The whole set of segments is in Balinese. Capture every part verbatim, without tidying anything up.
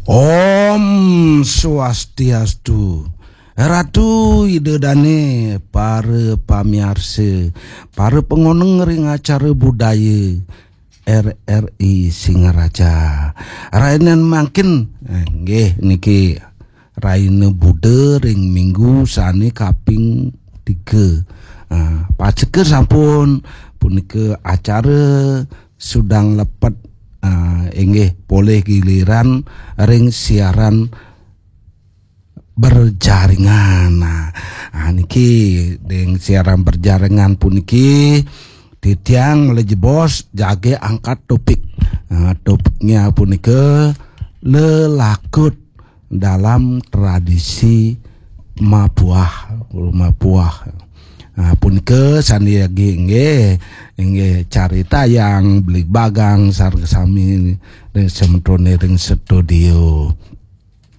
Om Swastiastu. Ratu Ida Dane, para pamiarsa, para pangoneng ring acara budaya R R I Singaraja. Rahinan mangkin, eh, nggih niki rahina Buda ring minggu sane kaping tiga. Ah, pacekar sampun punika acara sudang lepet, ah, inggih polih giliran ring siaran berjaringan. Nah, ah, niki ring siaran berjaringan puniki titiang malih jebos jagi angkat topik. Ah, topiknya punika lelakut dalam tradisi mapuah, mapuah. Ah, punika sane jagi inggih, inggih caritayang beli bagang sareng sami ring semetone ring studio.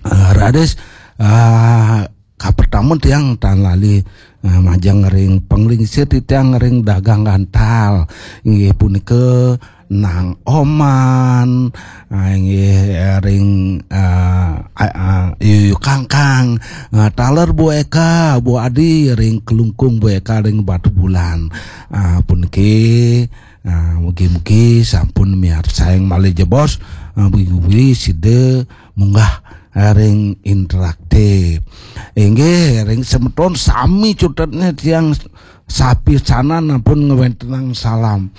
Ah, raris, ah, kapertama tiang tan lali, ah, majeng ring panglingsir tiang ring dagang gantal. Inggih punika Nang Oman, ah, inggih, eh, ring, ah, ah, ah, Yuyu Kangkang, ah, taler Bu Eka, Bu Adi ring Kelungkung, Bu Eka ring Batubulan. Ah, puniki, ah, mugi-mugi sampun miarsayang malih jebos, ah, mugi-mugi sida munggah, ah, ring interaktif. Inggih, ring semeton sami cutetne tiang sapisanan ampun ngwentenang salam.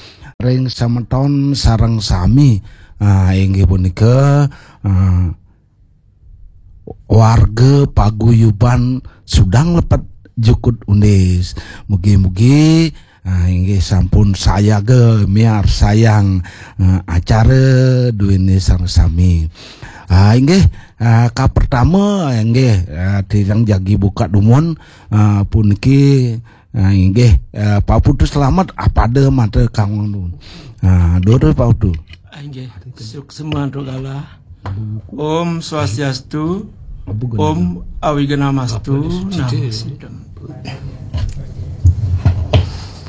Ring semeton sareng sami, ah, inggih punika, ah, warga paguyuban sudang lepet jukut undis. Mugi-mugi, ah, inggih sampun sayaga miarsayang, ah, acara duene sareng sami. Ah, inggih, ah, kapertama, inggih, ah, tiang jagi buka dumun, ah, puniki, ah, inggih, ah, Pak Putu selamat, apada mata kang dumun. Ah, durus Pak Putu. Ah, inggih, suksma antuk galah. Om Swastiastu, Om Awignamastu, Namo Buddhaya.